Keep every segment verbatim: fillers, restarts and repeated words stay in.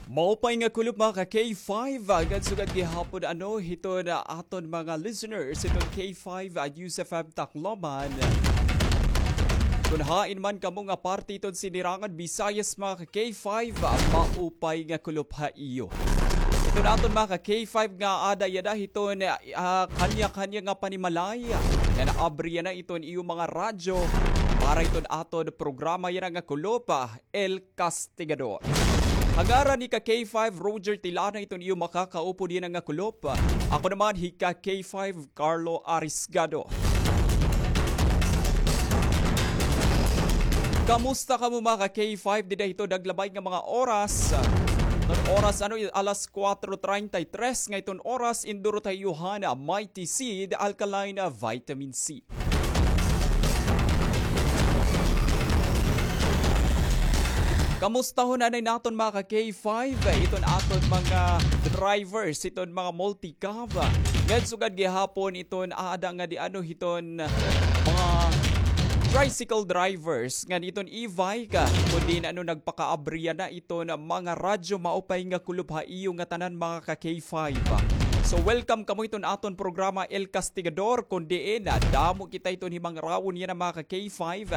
Maupay nga kulop, mga ka K five, ah, ngan sugad gihapon, ano, hiton, ah, aton mga listeners hiton K five, ah, News F M Tacloban. Kun hain man kamo nga parte hiton sinirangan Visayas, mga ka K five, ah, maupay nga kulop ha iyo. Hiton aton mga ka K five nga aada yana hiton, ah, kanya-kanya nga panimalay, nga naabri yana hiton iyo mga radyo para hiton aton programa yana nga kulop, ah, El Castigador. Ha ngaran ni ka K five Roger Tilana, iton iyo makakaupod yana nga kulop. Ako naman hi ka K five Carlo Arisgado. Kamusta kamo, mga ka K five, dida hiton naglabay nga mga oras? Iton oras, ano, alas kuwatro treinta y tres nga iton oras, indurot ha iyo han Mighty Seed Alkaline Vitamin C. Kamustahon anay naton, mga ka K five, iton aton mga drivers, iton mga multicab. Ngan sugad gihapon iton aada nga di ano hiton mga tricycle drivers, ngan iton e-bike, kun diin ano nagpakaabri yana iton mga radyo, maupay nga kulop ha iyo ngatanan, mga ka K five. So, welcome kamo iton aton programa El Castigador, kun diin, ah, damo kita iton himangrawon yana, mga ka K five.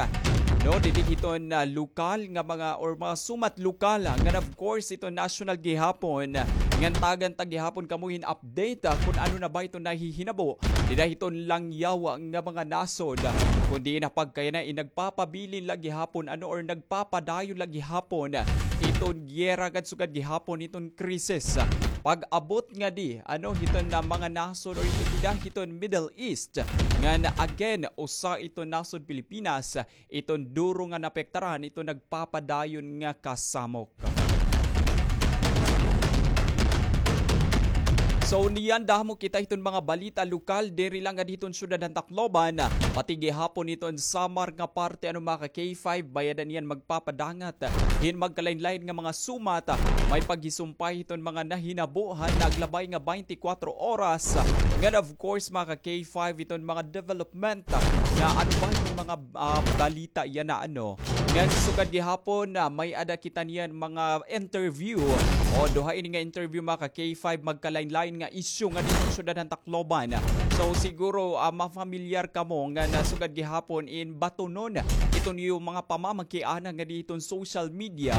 No, didi hiton, ah, lokal nga mga, or mga sumat lokal, ah, ngan of course iton national gihapon, ah, ngan tagan ta gihapon kamo hin update, ah, kun ano na ba iton nahihinabo dida hiton langyaw nga mga nasod, ah, kun diin na pagkayana in nagpapabilin la gihapon, ano, or nagpapadayon la gihapon, ah, iton giyera ngan sugad gihapon iton krisis. Pag-abot ngadi, ano, hiton na mga nasod or hiton dida hiton Middle East. Ngan again, usa iton nasod Pilipinas, iton duro nga naapektaran iton nagpapadayon nga kasamok. So, niyan damo kita hiton mga balita lokal, diri lang ngadi hiton syudad han Tacloban, pati gihapon hiton Samar nga parte, ano, mga ka K five, bay-ada niyan magpapadangat hin magkalain-lain nga mga sumat, may paghisumpay hiton mga nahinabo han naglabay nga baynte kuwatro oras. Ngan of course, mga ka K five, hiton mga development nga ano ba hiton mga, ah, balita yana, ano. Ngan sugad gihapon, ah, may-ada kita niyan mga interview. O, duha ini nga interview, mga ka K five, magkalain-lain nga isyu ngadi hiton syudad han Tacloban. So, siguro, ah, mafamilyar kamo ngan sugad gihapon in batunon iton iyo mga pamamakiana ngadi hiton social media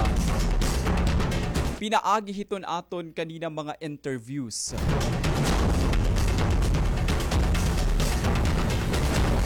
pinaagi hiton aton kanina mga interviews.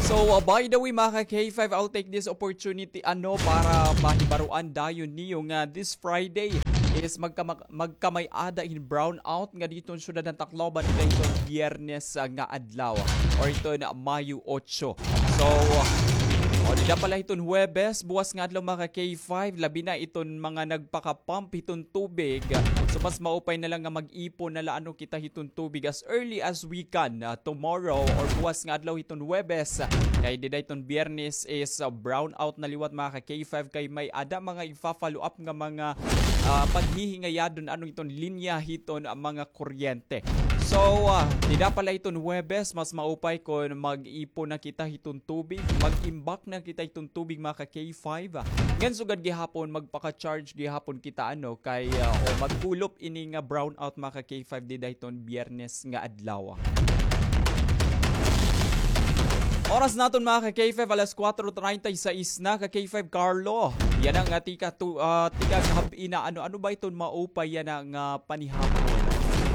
So, uh, by the way, mga ka K five, I'll take this opportunity, ano, para mahibaroan dayon niyo nga this Friday is magkama-, magkamay-ada hin brownout ngadi hiton syudad han Tacloban, dida hiton Biyernes, ah, nga adlaw, or hiton Mayo otso. So, o, dida pa la hiton Huwebes, buwas nga adlaw, mga ka K five, labi na iton mga nagpaka-pump hiton tubig. So, mas maupay na la nga mag-ipon na la, ano, kita hiton tubig as early as we can, ah, tomorrow or buwas nga adlaw hiton Huwebes. Kay dida hiton Biyernes is, ah, brownout na liwat, mga ka K five, kay may-ada mga igfa-follow up nga mga, ah, paghihingayadon, ano, hiton linya hiton, ah, mga kuryente. So, ah, dida pa la hiton Huwebes, mas maupay kon mag-ipon na kita hiton tubig, mag-imbak na kita hiton tubig, mga ka K five, ah. Ngan sugad gihapon, magpaka-charge gihapon kita, ano, kay, ah, o, magkulop ini nga brownout, mga ka K five, dida hiton Biyernes nga adlaw. Oras naton, mga ka K five, alas kuwatro treinta y seis na, ka K five Carlo. Yana nga tika tu-, ah, tika gab-i na, ano, ano ba iton maupay yana nga panihapon?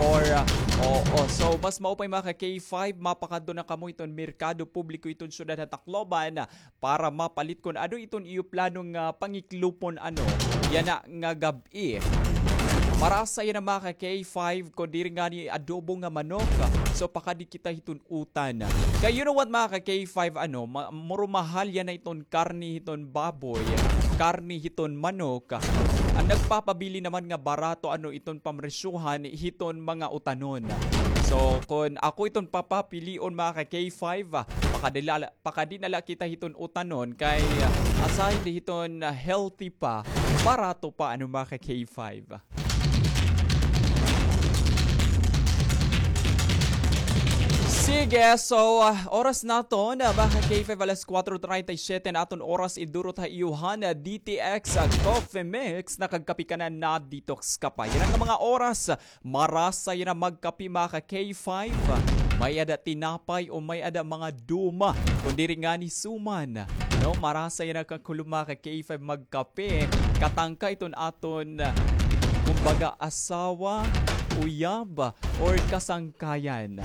Or, ah, oo, so mas maupay, mga ka K five, mapakadto na kamo hiton merkado publiko hiton syudad ha Tacloban para mapalit kon ano iton iyo plano nga pangiklopon, ano, yana nga gab-i. Marasa yana, mga ka K five, kon diri ngani adobo nga manok. So, pakadi kita hiton utan. Kay you know what, mga ka K five, ano, ma-, muro mahal yana iton karne hiton baboy, karne hiton manok. An nagpapabili naman nga barato, ano, iton pamresyohan hiton mga utanon. So, kon ako iton papapilion, mga ka K five, ah, pakadila-, pakadi na la kita hiton utanon kay, ah, aside hiton, ah, healthy pa, barato pa, ano, mga ka K five. Si Sige, so, ah, oras naton, ah, mga ka-K five, alas kuwatro treinta y siete na aton oras, idurot ha iyo han, ah, D T X, ah, Coffee Mix, nakagkape ka na, na-detox ka pa. Yana nga mga oras, ah, marasa yana magkape, mga ka-K five. May-ada tinapay o may-ada mga duma, kon diri ngani suman. No, marasa yana kakulop, mga ka-K five, magkape. Katangka iton aton, ah, kumbaga, asawa, uyab, or kasangkayan.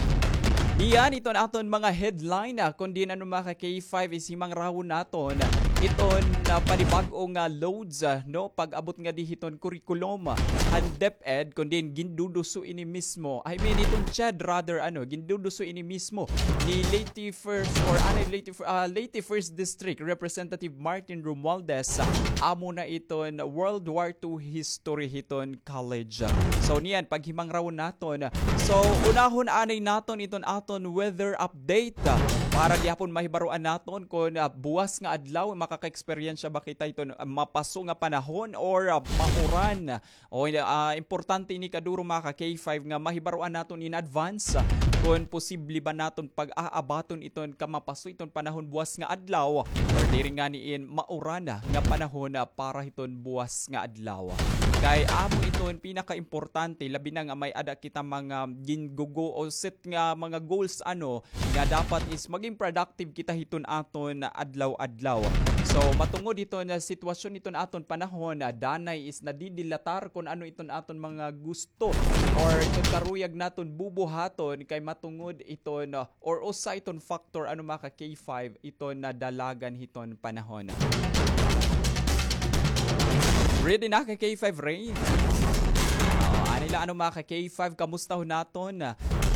Niyan iton aton mga headline, ah, kon diin ano, mga ka-K five, is himangrawon naton iton, ah, panibag-o nga loads, ah, no, pag-abot ngadi hiton curriculum, ah, han DepEd, kon diin ginduduso ini mismo. I mean, iton CHED rather, ano, ginduduso ini mismo ni Leyte First or, ano, Leyte Fir-, ah, Leyte First District Representative Martin Romualdez, ah, amo na iton World War Two history hiton college. So, niyan, paghimangrawon naton. So, unahon anay naton iton aton weather update, ah, para gihapon mahibaroan naton kon, ah, buwas nga adlaw, makaka-eksperyensya ba kita iton, ah, mapaso nga panahon or, ah, mauran. O, ah, importante ini kaduro, mga ka-K five, nga mahibaroan naton in advance, ah, kon posible ba naton pag-aabaton iton kamapaso iton panahon buwas nga adlaw, or diri ngani in mauran nga panahon, ah, para hiton buwas nga adlaw. Kay amo iton pinakaimportante, labi na nga may-ada kita mga gingugo o set nga mga goals, ano, nga dapat is maging productive kita hiton aton adlaw-adlaw. So, matungod hiton sitwasyon hiton aton panahon, ah, danay is nadidilatar kon ano iton aton mga gusto or iton karuyag naton bubuhaton kay matungod iton, ah, or usa iton factor, ano, mga ka-K five, iton nadalagan hiton panahon. Ready na ka-K five, Ray? O, anay la, ano, mga ka-K five, kamustahon naton?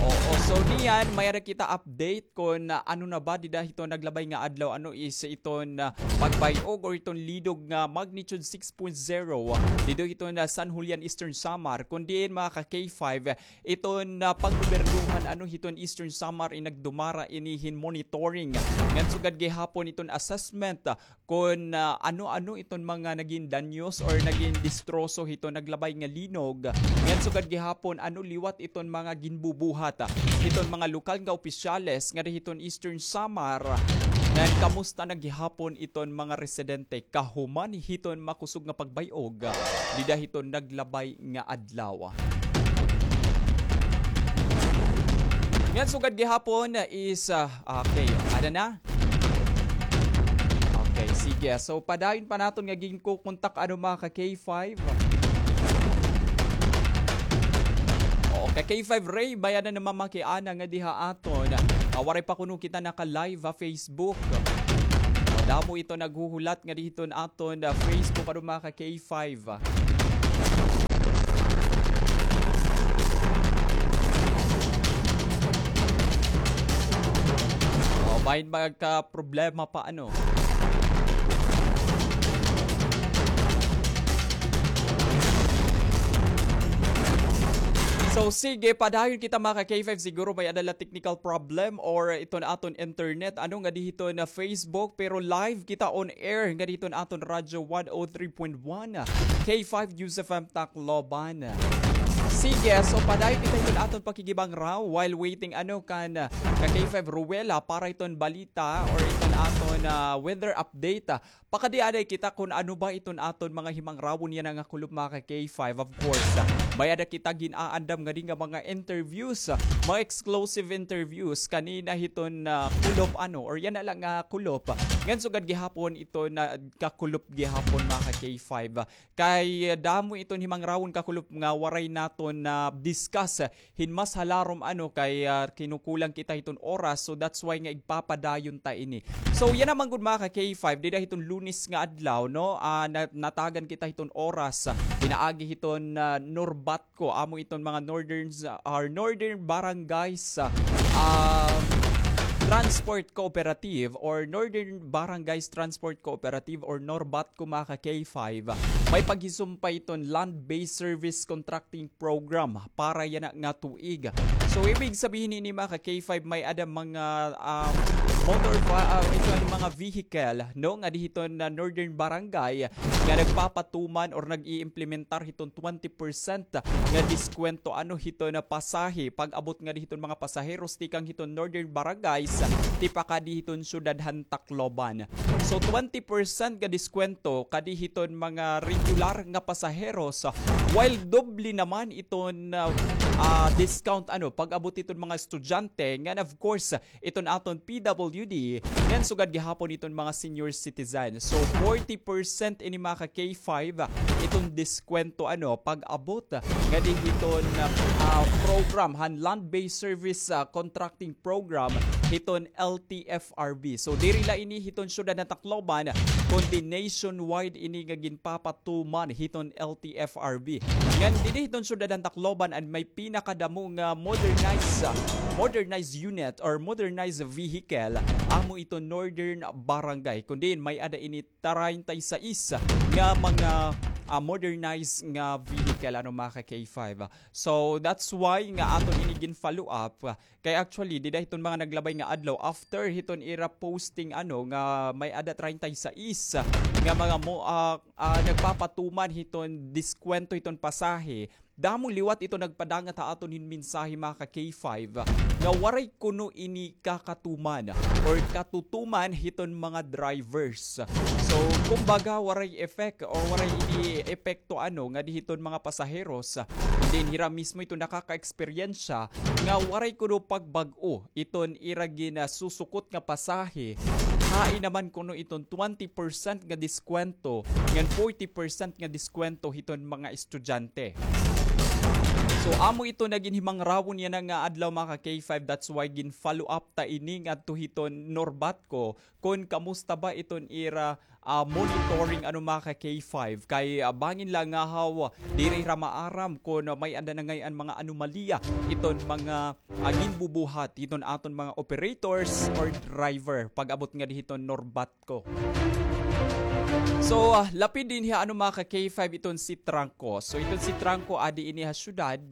Oo, so niyan, may-ada kita update kon, ah, ano na ba dida hiton naglabay nga adlaw, ano, is iton, ah, pagbay-og or iton lidog nga magnitude six point zero dida hiton, ah, San Julian, Eastern Samar. Kon diin, mga ka-K five, iton, ah, paggobernohan, ano, hiton Eastern Samar in nagdumara ini hin monitoring. Ngan sugad gihapon iton assessment, ah, kon, ah, ano-ano iton mga nagin danyos or nagin distroso hiton naglabay nga linog. Ngan sugad gihapon, ano, liwat iton mga ginbubuhat, ah, hiton mga lokal nga opisyales ngadi hiton Eastern Samar. Ngan kamusta na gihapon iton mga residente kahuman hiton makusog nga pagbay-og, ah, dida hiton naglabay nga adlaw. Ngan sugad gihapon is, ah, okay, ada na? Okay, sige. So, padayon pa naton nga ginkukontak, ano, mga ka-K five. O, ka-K five Ray, may-ada namamakiana ngadi ha aton. Ah, waray pa kuno kita naka-live ha Facebook. O, damo ito naghuhulat ngadi hiton aton, ah, Facebook, ano, mga ka-K five. O, bahin magkaproblema pa, ano. So, sige, padayon kita, mga ka-K five. Siguro may-ada la technical problem or iton aton internet. Ano ngadi hiton Facebook, pero live kita on air ngadi hiton aton Radyo one oh three point one, K five News F M Tacloban. Sige, so padayon kita hiton aton pakikibangraw while waiting, ano, kan, ah, ka-K five Ruela para iton balita or iton aton, ah, weather update. Ah, pakadi-aday kita kon ano ba iton aton mga himangrawon yana nga kulop, mga ka-K five, of course. Ah, may-ada kita gin-aandam ngadi nga mga interviews, ah, mga exclusive interviews kanina hiton, ah, kulop, ano, or yana la nga kulop. Ngan sugad gihapon iton, ah, kakulop gihapon, mga ka-K five. Kay, ah, damo iton himangrawon kakulop nga waray naton na-discuss, ah, hin mas halarom, ano, kay, ah, kinukulang kita hiton oras. So, that's why nga igpapadayon ta ini. So, yana man gud, mga ka-K five, dida hiton Lunes nga adlaw, no? Ah, na-, natagan kita hiton oras, ah, pinaagi hiton, ah, Norbatco, amo iton mga northern, ah, or northern barangays, ah, um, Transport Cooperative or Northern Barangays Transport Cooperative or Norbatco, mga ka-K five, may paghisumpay iton Land-Based Service Contracting Program para yana nga tuig. So, ibig sabihin ini, mga ka-K five, may-ada mga, um, motor va-, ah, iton mga vehicle, no, nga di hiton, ah, Northern Barangay nga nagpapatuman or nag-iimplementar hiton twenty percent nga diskwento ano hiton, ah, pasahe pag-abot nga di hiton mga pasaheros tikang hiton Northern Barangays tipakadi hiton syudad han Tacloban. So, twenty percent nga diskwento kadi hiton mga regular nga pasaheros, while doble naman iton, ah, ah, discount ano pag-abot hiton mga estudyante, ngan of course, iton aton P W D, ngan sugad gihapon iton mga senior citizen. So, forty percent ini, mga ka-K five, iton diskwento ano pag-abot nga di hiton, ah, program han Land-Based Service, ah, Contracting Program hiton L T F R B. So, diri la ini hiton syudad han Tacloban, kundi nationwide ini nga ginpapatuman hiton L T F R B. Ngan dinhi hiton syudad han Tacloban an may pinakadamo nga modernized, ah, modernized unit or modernized vehicle, amo iton Northern Barangay. Kun diin may-ada ini treinta y seis nga mga, ah, modernized nga vehicle, ano, mga ka-K five. So, that's why nga aton ini gin-follow up. Kay actually, dida hiton mga naglabay nga adlaw, after hiton ira posting, ano, nga may-ada treinta y seis nga mga mo-, ah, ah, nagpapatuman hiton diskwento hiton pasahe, damo liwat ito nagpadangat ha aton hin mensahe, mga ka-K five, nga waray kuno ini kakatuman or katutuman hiton mga drivers. So, kumbaga, waray effect or waray ini epekto, ano, nga di hiton mga pasaheros. Then, hira mismo ito nakaka-eksperyensya nga waray kuno pagbag-o iton ira ginasusukot nga pasahe, hain naman kuno iton twenty percent nga diskwento, ngan forty percent nga diskwento hiton mga estudyante. So, amo ito nagin himangrawon yana nga adlaw, mga ka-K five. That's why gin-follow up ta ini ngadto hiton Norbatco kon kamusta ba iton ira, ah, monitoring, ano, mga ka-K five. Kay, ah, bangin la ngahaw, diri hira maaram kon may-ada na ngay-an mga anomalya iton mga, ah, ginbubuhat hiton aton mga operators or driver pag-abot nga di hiton Norbatco. So, ah, lapid dinhi, ano, mga ka-K five, iton si Trangco. So, iton si Trangco adi ini ha syudad.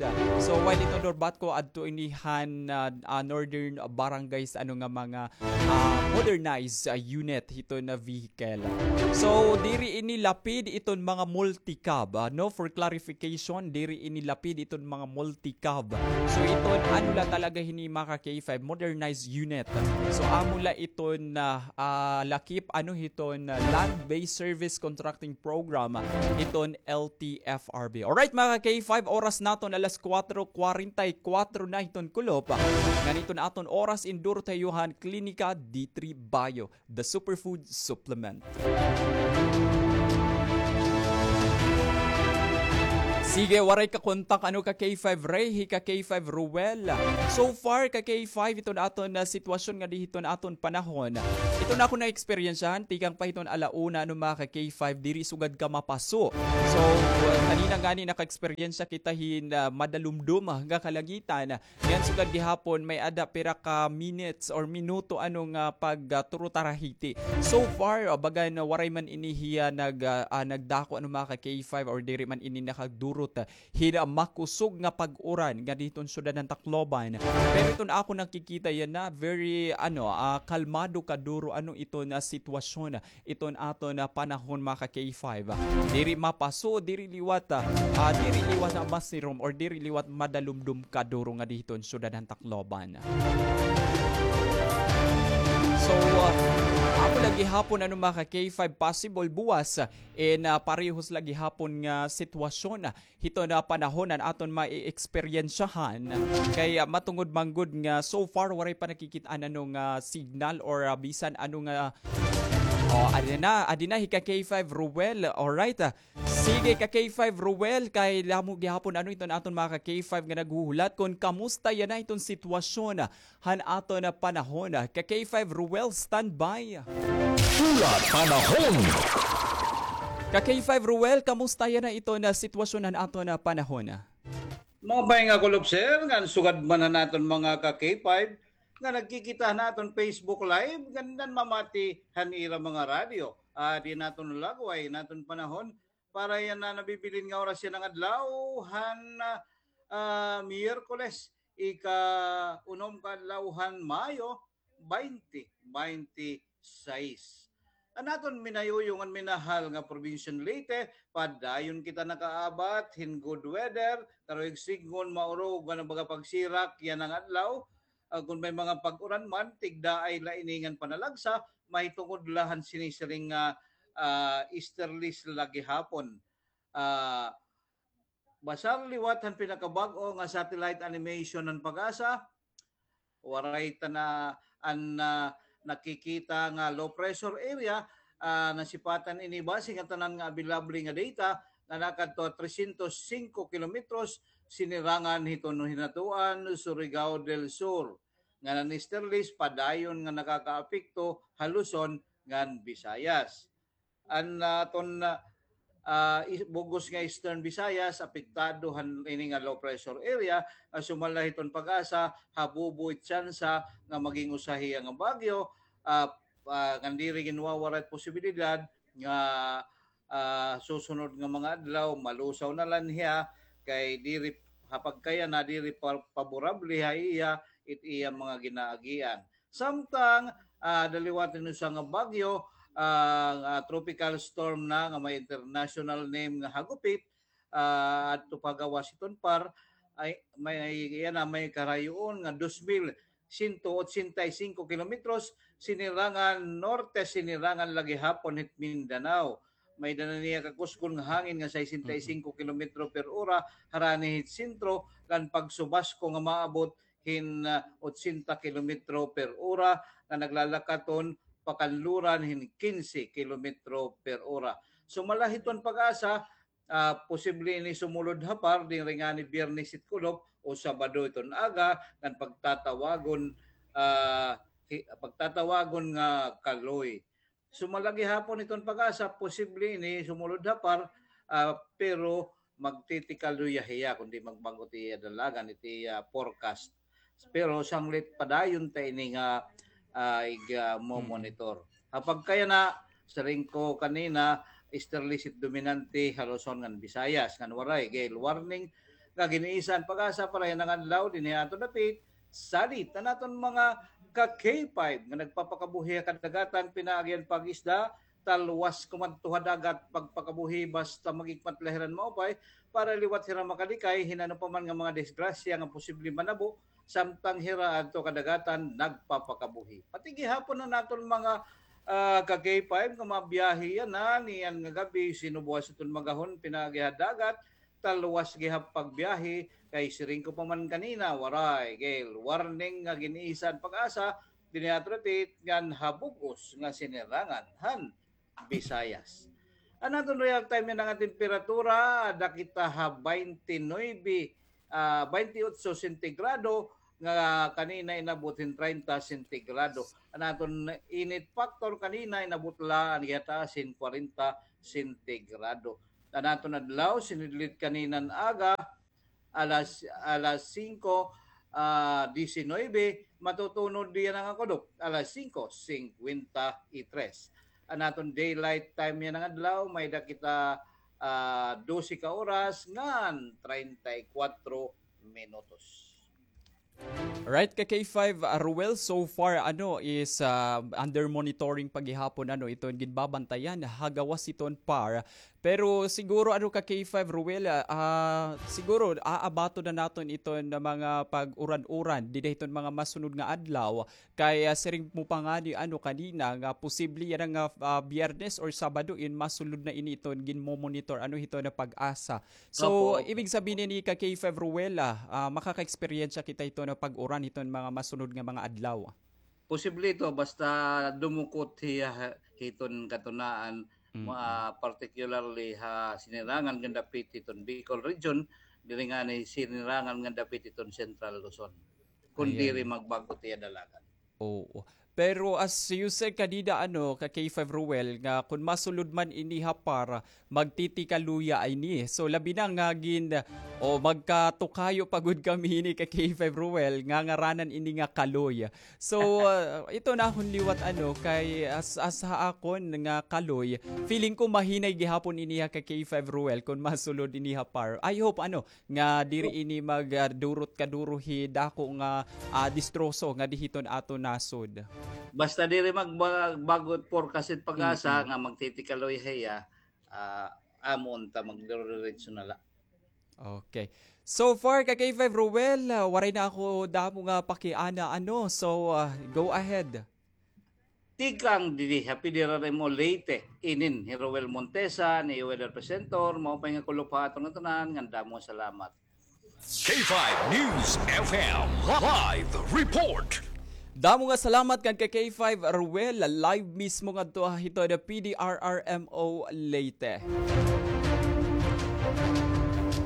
So, while iton Norbatco adto ini han, ah, ah, northern barangays, ano, nga mga ah, modernized, ah, unit hiton vehicle. So, diri ini lapid iton mga multicab, ah, no? For clarification, diri ini lapid iton mga multicab. So, iton ano la talaga hini, mga ka-K five, modernized unit. So, amo la iton, ah, ah, lakip, ano, hiton, ah, Land-Based Service Contracting Program, ah, hiton L T F R B. Alright, mga ka-K five, oras naton alas kuwatro kwarenta y kuwatro na hiton kulop. Ngan iton aton oras, induro ta ha iyo han Klinika D three Bio, the superfood supplement. Sige, waray ka kontak, ano, ka-K five Ray, hi ka-K five Ruel. So far, ka-K five, iton aton, ah, sitwasyon nga di hiton aton panahon. Iton akon na-eksperyensyahan, tikang pa hiton ala una, ano, mga ka-K five, diri sugad ka mapaso. So, kanina ngani naka-eksperyensya kita hin, ah, madalumdom nga kalangitan. Ngan sugad gihapon, may-ada pira ka minutes or minuto, ano, nga pag, ah, turo tarahiti. So far, ah, bagan waray man ini hiya nag, ah, ah, nagdako, ano, mga ka-K five, or diri man ini nakagdurot, ah, hin, ah, makusog nga pag-uran nga di hiton syudad han Tacloban. Pero iton akon nakikita yana, very, ano, ah, kalmado kaduro, ano, iton sitwasyon iton aton, ah, panahon, mga ka-K five. Diri mapaso, diri liwat, ah, ah, diri liwat masirom or diri liwat madalumdom kaduro nga di hiton syudad han Tacloban. So, ah, amo la gihapon, ano, mga ka-K five, possible buwas, ah, in, ah, parehos la gihapon nga sitwasyon, ah, hiton, ah, panahon an aton mae-eksperyensyahan. Kay, ah, matungod man gud nga so far waray pa nakikit-an, ano, nga signal or, ah, bisan ano nga, oh, adi na, adi na hi ka-K five Ruel. Alright, ah. Sige, ka-K five Ruel, kay damo gihapon, ano, iton aton mga ka-K five nga naghuhulat kon kamusta yana iton sitwasyon, ah, han aton panahon. Ka-K five Ruel, standby. Hulat panahon. Ka-K five Ruel, kamusta yana iton sitwasyon han aton panahon? Maupay nga kulop, sir, ngan sugad man han aton mga ka-K five nga nagkikita han aton Facebook Live, ngan nanmamati han ira mga radyo. Adi an aton lagway han aton panahon, para yana nabibilin nga oras yana nga adlaw han, ah, Miyerkules, ika-unom ka adlaw han Mayo, baynte baynte sais. An aton minayuyo ngan minahal nga probinsya han Leyte, padayon kita nakaabat hin good weather, karuyag sidngon maurog nga baga pagsirak yana nga adlaw. Ah, kon may mga pag-uran man, tigdaay la ini ngan panalagsa, mahitungod la han sinisiring nga, ah, easterlies la gihapon. Ah, basar liwat han pinakabag-o nga satellite animation han PAGASA, waray ta na an, ah, nakikita nga low pressure area, ah, nasipatan ini base nga tanan nga available nga data nga nakadto ha tresyentos singko kilometros, sinirangan hiton Hinatuan, Surigao del Sur. Ngan an easterlies padayon nga nakakaapekto ha Luzon ngan Visayas. An, ah, aton, ah, ah, is-, bug-os nga Eastern Visayas, apektado han ini nga low pressure area, nga sumala hiton PAGASA, habubo it tsansa nga maging usa hiya nga bagyo, ah, ah, ngan diri ginwawara it posibilidad nga, ah, susunod nga mga adlaw, malusaw na la hiya, kay diri, ha pagkayana, diri pa-, paborable ha iya, it iya mga ginaagian. Samtang, ah, daliwat hin usa nga bagyo, ah, nga tropical storm na nga may international name nga Hagupit, ah, adto pa ha gawas hiton par, ay, may, yana, may karayoon nga dos mil sento otsenta y singko kilometros, sinirangan norte, sinirangan la gihapon hit Mindanao. May-ada na niya kakusgon nga hangin nga sesenta y singko kilometro per ora, harani hit sentro, ngan pagsubasko nga maabot hin, ah, otsenta kilometro per ora, nga naglalakat-on pakanluran hin kinse kilometro per ora. Sumala hiton PAGASA, ah, posible ini sumulod ha par, diri ngani Biyernes it kulop o Sabado iton aga, ngan pagtatawagon, ah, hi-, pagtatawagon nga kaloy. Sumala gihapon hiton PAGASA, posible ini sumulod ha par, ah, pero magtitikaluya hiya kundi magbag-o it iya dalagan, it iya forecast. Pero sanglit padayon ta ini nga, ah, ig-, ah, mo-monitor. Ha pagkayana, siring ko kanina, easterlies it dominante ha Luzon ngan Visayas, ngan waray gale warning nga gin-iisa han PAGASA para yana nga adlaw dinhi ha aton dapit. Salit an aton mga ka-K five nga nagpapakabuhi ha kadagatan, pinaagi han pag-isda, talwas kumadto ha dagat, pagpakabuhi basta mag-ikmat la hira hin maupay, para liwat hira makalikay hin ano pa man nga mga disgrasya nga posible manabo, samtang hira adto kadagatan nagpapakabuhi. Pati gihapon an aton mga, ah, ka-K five nga mabiyahe yana, niyan nga gab-i, sinubuas iton magahon, pinaagi ha dagat, talwas gihap pagbiyahe, kay siring ko pa man kanina, waray gale warning nga gin-iisa han PAGASA, dinhi ha aton dapit ngan ha bug-os nga sinirangan han Visayas. An aton real time yana nga temperatura, ada kita ha baynte nuebe, ah, baynte otso sentigrado, nga kanina inabot hin treinta sentigrado. An aton init factor kanina inabot la an gihataas hin kwarenta sentigrado. An aton adlaw, sinidlit kaninan aga, alas, alas singko, ah, disinuybe, matutunod yana nga kulop, alas singko singkwenta y tres. An aton daylight time yana nga adlaw, may-ada kita, ah, dose ka oras ngan treinta y kuwatro minutos. Right, ka K five, ah, Ruel, so far, ano, is, ah, under monitoring pa gihapon, ano, iton ginbabantayan ha gawas hiton par. Pero siguro, ano, ka K five, Ruel, ah, ah, siguro, aabaton na naton iton mga pag-uran-uran dida hiton mga masunod nga adlaw. Kay, ah, siring mo pa ngani, ano, kanina nga posible yana nga, ah, Biyernes or Sabado in masulod na ini iton ginmo-monitor, ano, hiton PAGASA. So, opo, opo, ibig sabihin ini ka K five Ruel, ah, ah, makaka-eksperyensya kita hiton pag-uran hiton mga masunod nga mga adlaw? Posible ito, basta dumukot hiya ha-, hiton katunaan, mm, ma-, particularly ha sinirangan nga dapit hiton Bicol Region, diri ngani sinirangan nga dapit hiton Central Luzon. Kun diri magbag-o it iya dalagan. Oo. Pero as you said kanina, ano, ka K five Ruel, nga kun masulod man ini ha par, magtitikaluya ini. So, labi na nga gin-, o magkatukayo pa gud kami ini ka K five Ruel, nga ngaranan ini nga kaloy. So, ah, ito na akon liwat, ano, kay as, as ha akon nga kaloy, feeling ko mahinay gihapon ini ha ka K five Ruel kun masulod ini ha par. I hope, ano, nga diri ini mag, ah, durot kaduro hi dako nga, ah, distroso nga di hiton aton nasod. Basta diri mag-, mag-, bagot forecast it PAGASA nga magtitikaloy hiya, ah, amo unta magdiretso na la. Okay. So far, ka K five Ruel, ah, waray na ako damo nga pakiana, ano. So, ah, go ahead. Tikang didi ha P D R R M O Leyte, inin hi Roel Montesa, ni weather presenter, maupay nga kulop ha aton ngatanan, ngan damo nga salamat. K five News F M live report. Damo nga salamat kan ka K five Ruel, live mismo ngadto ha hiton P D R R M O Leyte.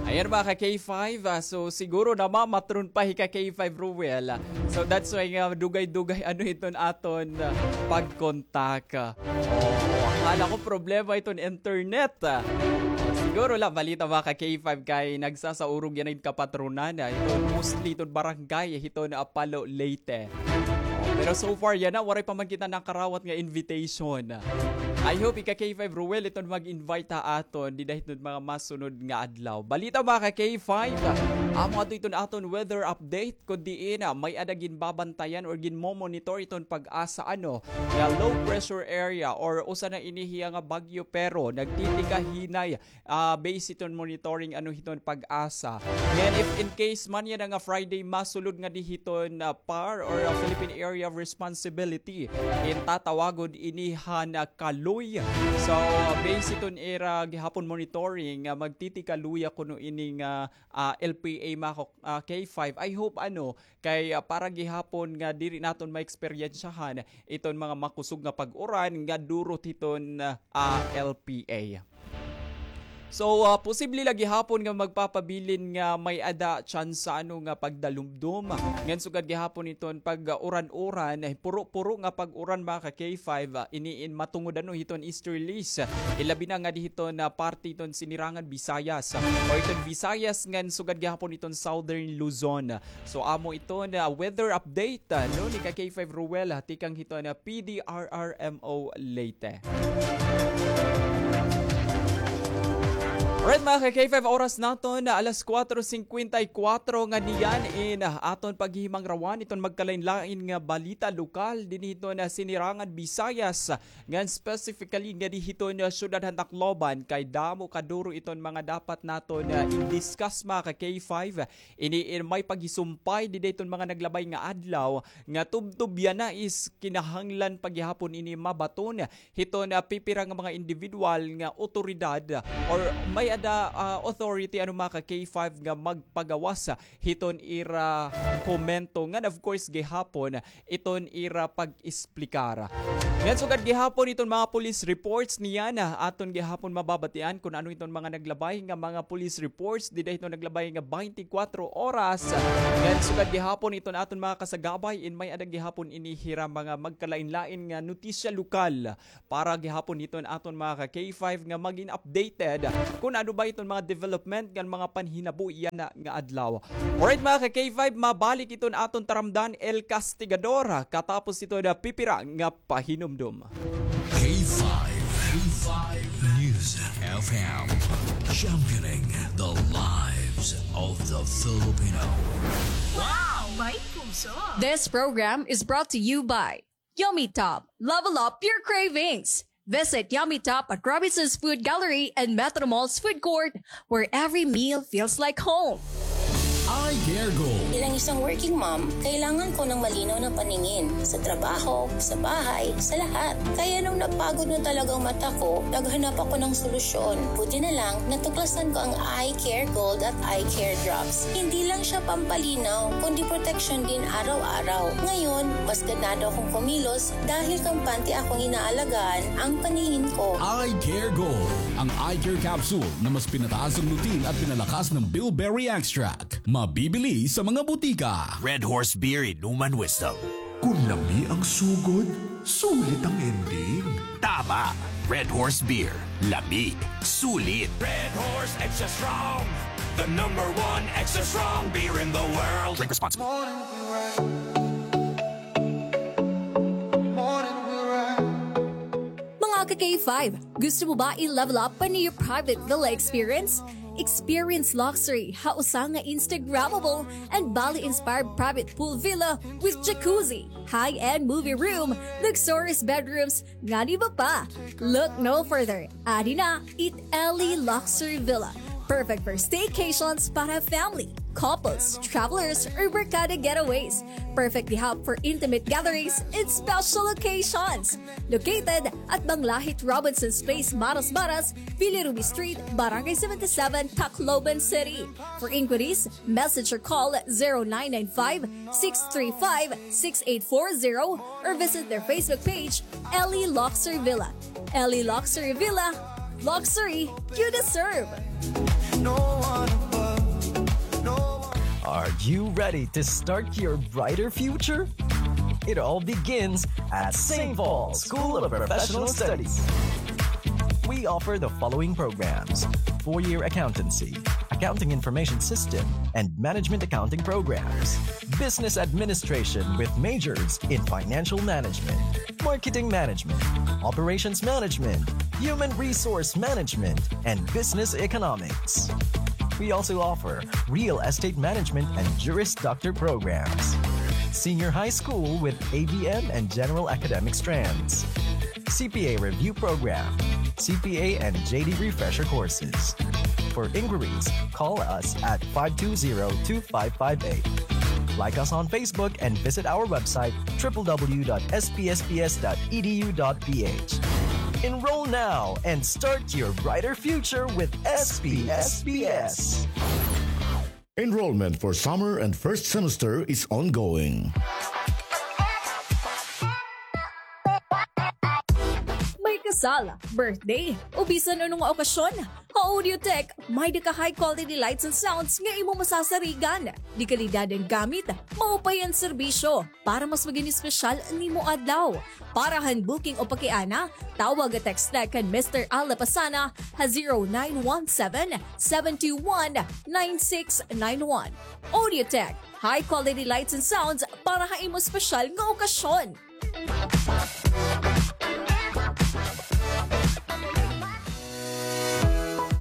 Ayan, mga ka K five, ah, so siguro namamatron pa hi ka K five Ruel. So that's why nga dugay-dugay ano hiton aton, ah, pagkontak. Oh, akala ko problema iton internet. Siguro la, balita, mga ka K five, kay nagsasaurog yana it kapatronan, ah, iton mostly iton barangay hiton, ah, Palo, Leyte. Pero so far yana, waray pa man kita nakarawat nga invitation. I hope ika K five Ruel iton mag-invite ha aton dida hiton mga masunod nga adlaw. Balita, mga ka K five, amo ato iton aton weather update, kun diin, ah, may-ada ginbabantayan or ginmo-monitor iton PAGASA, ano, nga low pressure area or usa na ini hiya nga bagyo, pero nagtitikahinay, ah, base hiton monitoring, ano, hiton PAGASA. Ngan if in case man yana nga Friday masulod ngadi hiton, ah, PAR or, ah, Philippine Area of Responsibility, in tatawagon ini han, ah, kaloy. So, base hiton ira gihapon monitoring, ah, magtitikaluya kuno ini nga, ah, L P A, mga ka-, ah, K five. I hope, ano, kay, ah, para gihapon nga diri naton maeksperiensyahan iton mga makusog nga pag-uran nga durot hiton, ah, L P A. So, ah, posible la gihapon nga magpapabilin nga may-ada tsansa, ano, nga pagdalumdom. Ngan sugad gihapon iton pag-uran-uran, eh, puro-puro nga pag-uran, mga ka K five, ah, ini in matungod, ano, hiton easterlies. Ilabi na nga di hiton, ah, parte hiton Sinirangan Visayas, ah, o iton Visayas ngan sugad gihapon iton Southern Luzon. So, amo iton weather update, ah, no, ni ka K five Ruel, ah, tikang hiton P D R R M O Leyte. Alright, mga ka K five, oras naton, ah, alas kuwatro singkwenta y kuwatro nga niyan in, ah, aton paghihimangrawan iton magkalain-lain nga balita lokal dinhi hiton, ah, Sinirangan Visayas, ngan specifically ngadi hiton, ah, syudad han Tacloban, kay damo kaduro iton mga dapat naton, ah, i-discuss, mga ka K five. Ini in may paghisumpay dida hiton mga naglabay nga adlaw nga tubtob yana is kinahanglan pa gihapon ini mabaton hiton, ah, pipira nga mga individual nga awtoridad or may-ada, ah, authority, ano, mga ka K five, nga magpagawas hiton ira komento ngan of course gihapon iton ira pag-esplikar. Ngan sugad gihapon iton mga police reports niyan, ah, aton gihapon mababatian kun ano iton mga naglabay nga mga police reports dida hiton naglabay nga twenty-four oras. Ngan sugad gihapon iton aton mga kasagabay in may-ada gihapon ini hira mga magkalain-lain nga notisya lokal para gihapon hiton aton mga ka K five nga magin updated kun ano ba iton mga development ngan mga panhinabo yana nga adlaw. Alright, mga ka K five, mabalik iton aton taramdan, El Castigador, katapos iton pipira nga pahinumdom. K five, K five News F M, championing the lives of the Filipino. Wow! May puso! This program is brought to you by Yummy Top. Level up your cravings. Visit Yummy Top at Robinson's Food Gallery and Metro Mall's food court, where every meal feels like home. Eye Care Gold. Bilang isang working mom, kailangan ko ng malinaw na paningin sa trabaho, sa bahay, sa lahat. Kaya nung napagod na talagang mata ko, naghanap ako ng solusyon. Buti na lang, natuklasan ko ang Eye Care Gold at Eye Care Drops. Hindi lang siya pampalinaw, kundi proteksyon din araw-araw. Ngayon, mas ganado akong kumilos dahil kampante akong inaalagaan ang paningin ko. Eye Care Gold, ang eye care capsule na mas pinataas ang lutein at pinalakas ng bilberry extract. Mabibili sa mga butika. Red Horse Beer, inuman wisdom. Kon lami ang sugod, sulit ang ending. Tama! Red Horse Beer. Lami. Sulit. Red Horse Extra Strong. The number one extra strong beer in the world. Drink responsibly. Mga ka-K five, gusto mo ba i-level up pa an iyo private villa experience? Experience luxury ha usa nga Instagrammable and Bali-inspired private pool villa with jacuzzi, high-end movie room, luxurious bedrooms, ngan iba pa. Look no further. Adi na it Ellie Luxury Villa. Perfect for staycations para family, couples, travelers, or barkada getaways. Perfect di hap for intimate gatherings and special occasions. Located at Banglahit Robinson's Place, Marasbaras, Villa Ruby Street, Barangay seventy-seven, Tacloban City. For inquiries, message or call zero nine nine five, six three five, six eight four zero or visit their Facebook page, Ellie Luxury Villa. Ellie Luxury Villa, luxury you deserve. Are you ready to start your brighter future? It all begins at Saint Paul School of Professional Studies. We offer the following programs: four-year accountancy, accounting information system, and management accounting programs, business administration with majors in financial management, marketing management, operations management, human resource management, and business economics. We also offer real estate management and Juris Doctor programs, senior high school with A B M and general academic strands, C P A review program, C P A and J D refresher courses. For inquiries, call us at five two zero two five five eight. Like us on Facebook and visit our website, triple W dot S P S P S dot E D U dot P H. Enroll now and start your brighter future with S P S P S. Enrollment for summer and first semester is ongoing. May kasal, birthday, o bisan ano nga okasyon, ha Audiotech, may-ada ka high quality lights and sounds nga imo masasarigan. De kalidad an gamit, maupay an serbisyo. Para mas maging espesyal an imo adlaw. Para han booking o pakiana, tawag o text na kan Mister Al Lapasana ha zero nine one seven, seven two one, nine six nine one. Audiotech, high quality lights and sounds para ha imo espesyal nga okasyon.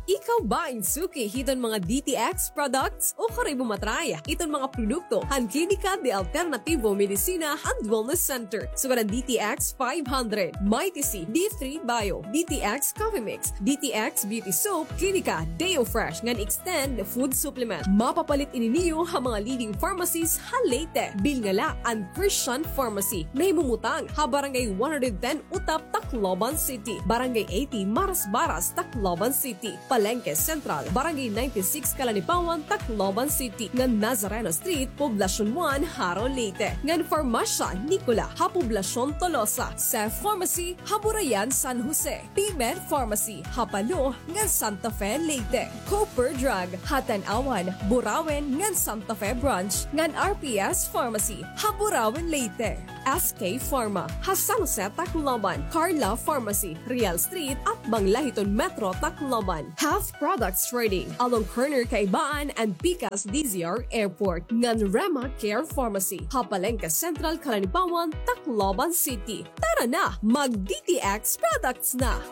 Ikaw ba in suki hiton mga D T X products? O kari mo ma-try iton mga produkto han Klinika de Alternativo Medicina and Wellness Center. Sugad an D T X five hundred, Mighty C, D three Bio, D T X Coffee Mix, D T X Beauty Soap, Klinika Deo Fresh ngan Extend Food Supplement. Mapapalit ini niyo ha mga leading pharmacies ha Leyte. Bilin la an Christian Pharmacy, nahimumutang ha Barangay one hundred ten Utap, Tacloban City, Barangay eighty, Marasbaras, Tacloban City, Palengke Central, Barangay ninety-six, Calanipawan, Tacloban City, ngan Nazareno Street, Poblacion one, Jaro, Leyte, ngan Farmasya Nicola ha Poblacion Tolosa, Seth Pharmacy ha Burayan, San Jose, P-Med Pharmacy ha Palo ngan Santa Fe, Leyte, Cooper Drug ha Tanauan, Burauen ngan Santa Fe Branch, ngan R P S Pharmacy ha Burauen, Leyte. S K Pharma ha San Jose, Tacloban, Carla Pharmacy, Real Street, Atbang Lahiton Metro, Tacloban. Health Products Trading, along corner Kaibaan and Pikas D Z R Airport, ngan Rema Care Pharmacy ha Palengke Central, Calanipawan, Tacloban City. Tara na, mag-D T X products na!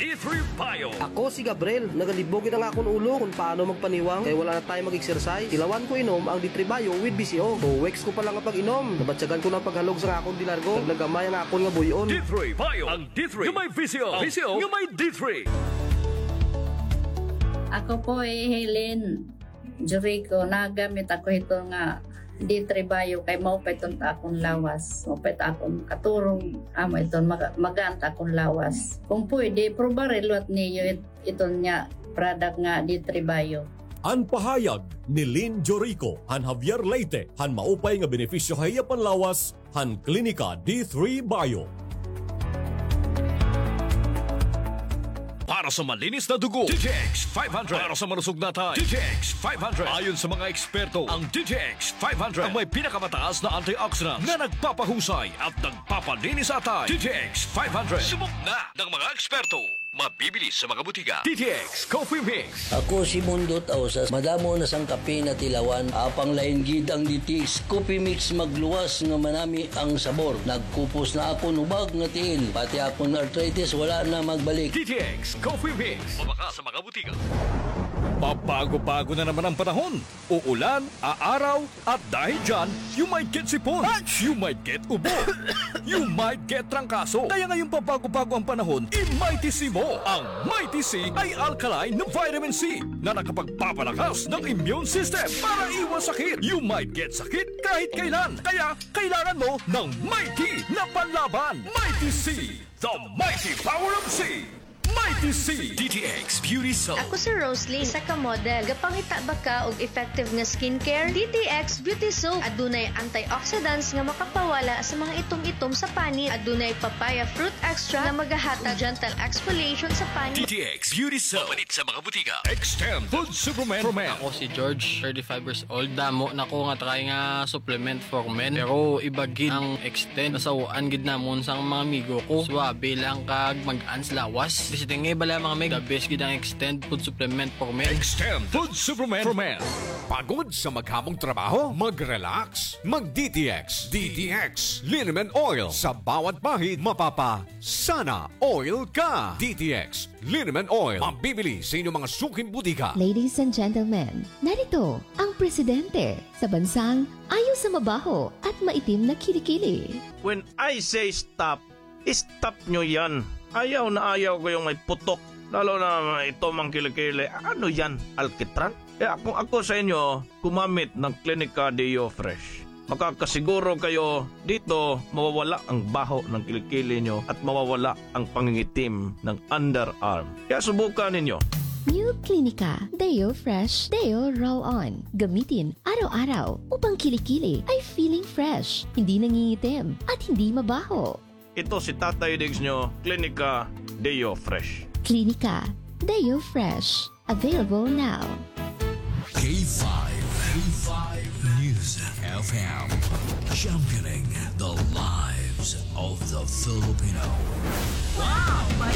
D three Bio. Ako si Gabriel. Nagalibog it ang akon ulo kon paano magpaniwang kay wala na tayo mag-exercise. Tilawan ko inom ang D three Bio with B C O. Two weeks ko pa lang nga pag-inom, nabatyagan ko na an paghalog sa akon delargo. Nagnagamay ang akon nga buy-on. D three Bio. Ang D three nga may B C O. B C O nga may D three. Ako po ay Helen Jericho, nagamit ako hito nga D three Bio kay maupay iton ta akon lawas. Maupay ta akon katurog, amo iton maga-, magaan ta akon lawas. Kung pwede, probare liwat niyo it-, iton nga product nga D three Bio. An pahayag ni Lynn Jorico han Javier, Leyte, han maupay nga benepisyo ha iya panlawas han Klinika D three Bio. Para sa malinis na dugo, D T X five hundred. Para sa malusog na atay, D T X five hundred. Ayon sa mga eksperto, ang D T X five hundred ang may pinakamataas na antioxidant na nagpapahusay at nagpapalinis sa atay. D T X five hundred. Subok na ng mga eksperto. Mabibili sa mga butika. D T X Coffee Mix. Ako si Mundot Ausas. Madamo na sang kape na tilawan. Apang lain gid ang D T X Coffee Mix, magluwas nga manami ang sabor. Nagkupos na akon hubag nga tiil. Pati akon arthritis wala na magbalik. D T X Coffee Mix. Mabaka sa mga butika. Pabago-bago na naman ang panahon. Uulan, aaraw, at dahil dyan, you might get sipon, you might get ubo, you might get trangkaso. Kaya ngayong pabago-bago ang panahon, i-Mighty C mo. Ang Mighty C ay alkaline na vitamin C na nakapagpapalakas ng immune system para iwas sakit. You might get sakit kahit kailan. Kaya kailangan mo ng Mighty na panlaban. Mighty C, the mighty power of C. Mighty C, D T X Beauty Soap. Ako si Rosalie, isa ka model. Gapangita ba ka og effective nga skincare? D T X Beauty Soap. Adunay antioxidants nga makapawala sa mga itom-itom sa panit. Adunay papaya fruit extract nga magahatag gentle exfoliation sa panit. D T X Beauty Soap. Mapalit sa mga butika. Extend Food Supplement for Men. Ako si George, thirty-five years old. Damo na ko nga try nga supplement for men. Pero iba gid ang Extend. Nasaw-an gid namon sang mga amigo ko. Suwabe lang kag mag-ans lawas. Di siting nga bala mga meg, the best gid ang Extend food supplement for men. Extend food supplement for men. Pagod sa maghamong trabaho? Mag-relax. Mag-D T X. D T X Liniment Oil. Sa bawat bahid, mapapa-sana oil ka. D T X Liniment Oil. Mabibili sa inyong mga suking butika. Ladies and gentlemen, narito ang presidente sa bansang ayaw sa mabaho at maitim na kilikili. When I say stop, stop nyo yan. Ayaw na ayaw ko yung may putok. Lalo na ito mang kilikili. Ano yan? Alkitran? Kaya kung ako sa inyo, gumamit ng Clinica Deo Fresh. Makakasiguro kayo dito mawawala ang baho ng kilikili nyo at mawawala ang pangingitim ng underarm. Kaya subukan ninyo. New Clinica Deo Fresh Deo Roll On. Gamitin araw-araw upang kilikili ay feeling fresh, hindi nangingitim, at hindi mabaho. Ito si Tatay Diggs nyo, Clinica Deo Fresh. Clinica Deo Fresh. Available now. K five, K five News F M, championing the lives of the Filipino. Wow! May